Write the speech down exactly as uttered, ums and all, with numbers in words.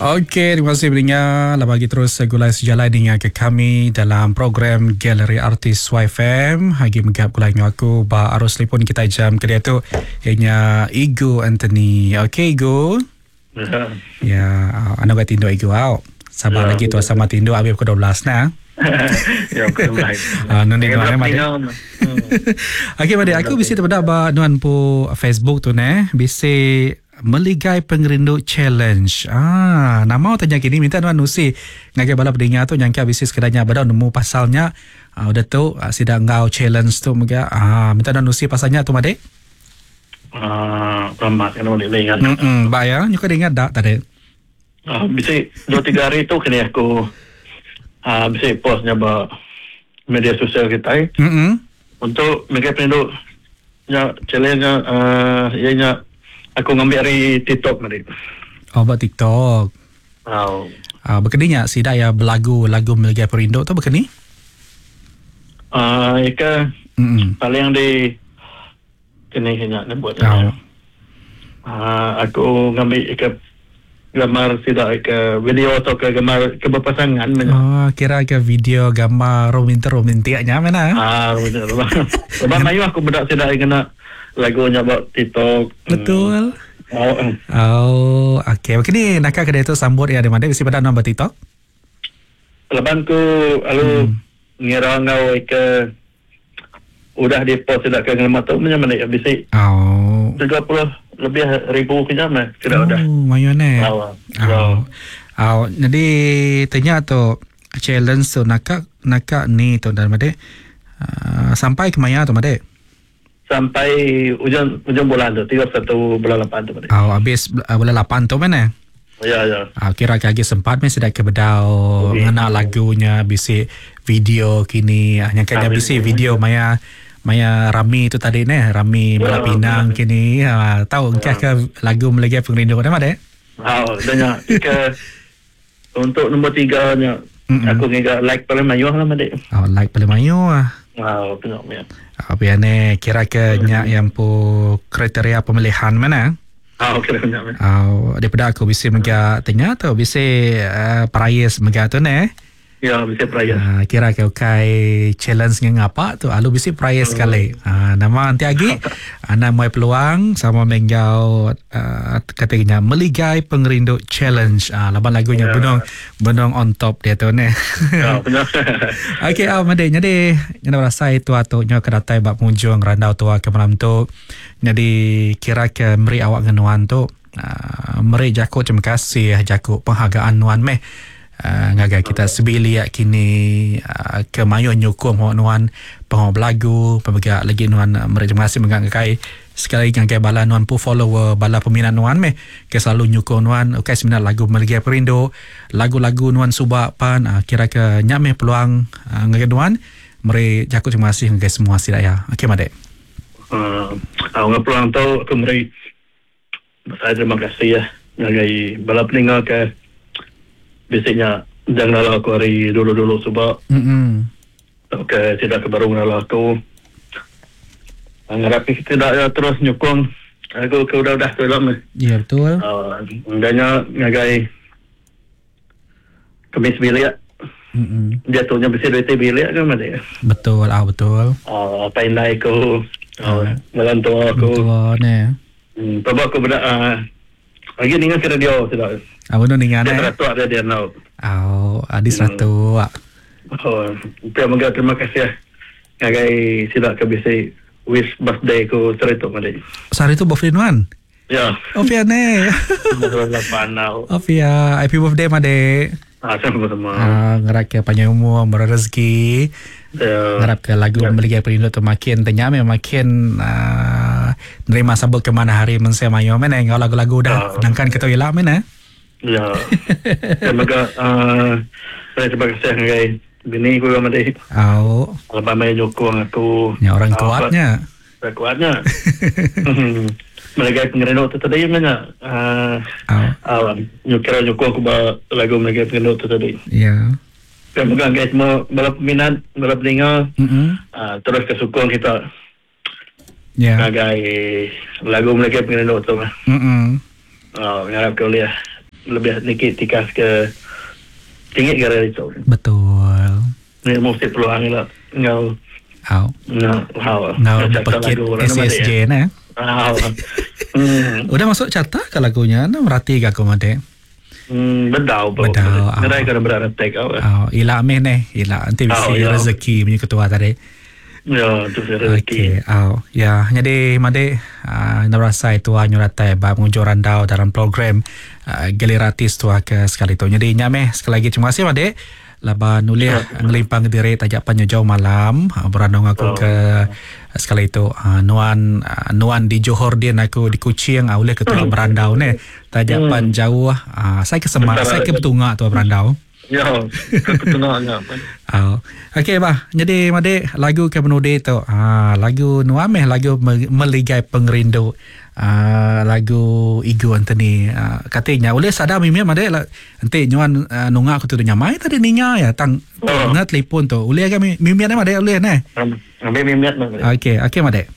Okey, terima kasih pendengar. Lah bagi terus gulai sejalai dengan ke kami dalam program Galeri Artis Y F M. Hagi megap gulai dengan aku ba arus telefon kita jam ke dia tu ianya Igu Anthony. Okey Igu. Ya. Ya, anu ga tindo Igu au. Sabar ya, lagi tu sama tindo habis pukul dua belas nah. Ya, pukul dua belas. Ah, nundi nuan made. Okey made, aku bisi terpedak ba nuan pu Facebook tu neh, bisi Meligai Pengerindu Challenge. Ah, nama tanya kini minta nuan nusi ngagai bala pendengar tu nyangka bisi sekedarnya badau nemu pasalnya. Ah, udah tu ah, sida ngau challenge tu mega. Ah, minta nuan nusi pasalnya tu made. Ah, lama kan boleh ingat. Hmm, ba ya, nyuka ingat dak tadi. Ah, bisi dua tiga hari tu kini aku ah bisi postnya ba media sosial kita. Hmm. Untuk Meligai Pengerindu nya challenge nya uh, ianya aku ngambil dari TikTok tadi. Oh, buat TikTok. Oh. Ah, berkeninya sida ya belagu lagu Meligai Pengerindu tu berkeni? Ah, uh, ika mm-hmm. paling di kene kena nak buat. Oh. Ah, aku ngambil ika gambar sida ke video atau ke gambar ke berpasangan. Oh, kira ke video gambar romantik-romantiknya mana? Ah, romantik. Sebab mayu aku bedak sida kena lagunya buat TikTok. Betul. Oh, oh, okey. Okey ni nak ke dia tu sambut ya di mana bisi pada nombor TikTok? Leban ku alu hmm. ngira ngau ke udah di post tidak ke ngelama tu macam mana bisi. Oh. tiga puluh lebih ribu kejam eh tidak oh, udah. Mayu ne. Oh. Oh. Oh, jadi tanya tu challenge tu nak nak ni tu dan made uh, sampai ke maya tu made? Sampai ujung ujung bulan tu, tiga puluh satu bulan lapan tu. Oh, habis uh, bulan lapan tu mana? Ya, ya. Ah, kira lagi sempat mesti dah ke bedau okay. Ngena lagunya bisi video kini, yang kaya bisi video maya maya rami tu tadi ne, rami ya, Bala Pinang ya. Kini. Ah, tahu ya. Ke lagu Meligai Pengerindu mana dek? Oh, danya ke untuk nombor tiga nya aku ngiga like paling mayuh lah madek. Oh, like paling mayuh ah. Oh, tengok ya. Apa yang ni kira ke nyak yang pu kriteria pemilihan mana? Ah, okey dah. Oh, daripada aku bisa mega tanya tu bisa uh, prize mega tu ne. Ya, bisa prize. Uh, kira ke kai challenge ngapa tu alu bisa prize hmm. sekali. Uh, nama nanti lagi ana mai peluang sama menggau uh, katanya Meligai Pengerindu Challenge. Ah, uh, laban lagunya ya. Benong benong on top dia tu ne. Ya, benar. Okey, ah made jadi nyana rasa itu atau nyo kedatai bab pengunjung randau tua ke malam tu. Jadi kira ke meri awak ngenuan tu uh, meri jakuk terima kasih jakuk penghargaan nuan meh. Uh, ngagai kita sebilik kini uh, ke mayu nyukung awak nuan pengau belagu pemegak lagi nuan uh, meri terima kasih mengagai sekali lagi ngagai bala nuan pu follower bala peminat nuan meh ke selalu nyukung nuan okey sebenarnya lagu Meligai Pengerindu lagu-lagu nuan subak pan uh, kira ke nyameh peluang uh, ngagai nuan meri jakuk terima kasih ngagai semua sida ya. Okey madek. Uh, uh, peluang tu aku meri saya terima kasih ya ngagai bala pendengar ke biasanya jangan lah aku hari dulu-dulu sebab mm-hmm. Okey, tidak ke baru lah aku ngarap kita tidak ya, terus nyukung aku ke udah-udah tu lah. Ya betul. Uh, danya ngagai kemis bilik. Mm-hmm. Jatuhnya besi duit bilik kan mati. Betul, ah betul. Ah, uh, pandai aku. Uh, uh, tua aku. Betul ne. Hmm, sebab aku berdak uh, lagi ningan ke radio sudah. Ah, benar ningan eh. Dia seratus ada dia now. Oh, adi seratus. Oh, terima kasih terima kasih ngagai sila ke bisi wish birthday ku sehari tu mari. Sehari tu birthday nuan? Ya. Oh, pia ne. Lapan now. Oh, pia. Happy birthday made. Ah, sama-sama. Ah, ngerak ke panjang umur, murah rezeki. Ya. Ngarap ke lagu ya. Meligai Pengerindu tu makin tanya memang makin uh, nerima sambut ke mana hari mensia mayo mana ngau lagu-lagu dah uh, nangkan kita elak mana. Ya. Terima kasih uh, terima kasih ngagai bini ku madi. Au. Lepas mai nyokong aku. Ya orang kuatnya. Orang kuatnya. Meligai Pengerindu tu tadi mana? Uh, Au. Uh, nyokong nyokong aku ba lagu Meligai Pengerindu tu tadi. Ya. Terima kasih guys semua bala peminat, bala pendengar. Mm-hmm. Uh, terus kesukung kita. Ya. Ngagai lagu Meligai Pengerindu tu. Mm-mm. Oh, ngarap ke boleh. lebih niki tikas ke tinggi gara itu. Betul. Ni mesti peluang lah ngau Au. ngau hau. Ngau pekit S S J ne. Au. Hmm. Udah masuk carta ke lagunya? Nah, merhati ke aku mate. Hmm, bedau bro. Bedau. Ngerai kena berat tek au. Au, ila meh neh, ila nanti bisi rezeki punya ketua tadi. Ya, tu rezeki. Okey, au. Ya, jadi made uh, narasai tua nyuratai bab ngujur randau dalam program uh, Geliratis tua ke sekali tu. Jadi nyameh sekali lagi terima kasih made. Laban ulih ngelimpang diri tajak panjang jauh malam berandung aku oh. ke sekali itu uh, nuan uh, nuan di Johor dia aku di Kuching uh, ulih ketua berandau ne tajak hmm. pan jauh uh, saya ke Semak saya ke Betungak tua berandau. Ya, ke Betungak nya. Oh. Okey bah, jadi made lagu ke penudi tu uh, lagu nuan meh lagu Meligai Pengerindu. Uh, lagu Igu Anthony uh, katanya oleh sadar mimpi made lah nanti nyuan uh, nunga aku tu nyamai tadi ninga ya tang oh. Ngat telefon tu oleh ke mimpi made oleh ne ambil mimpi made. Okey okey made.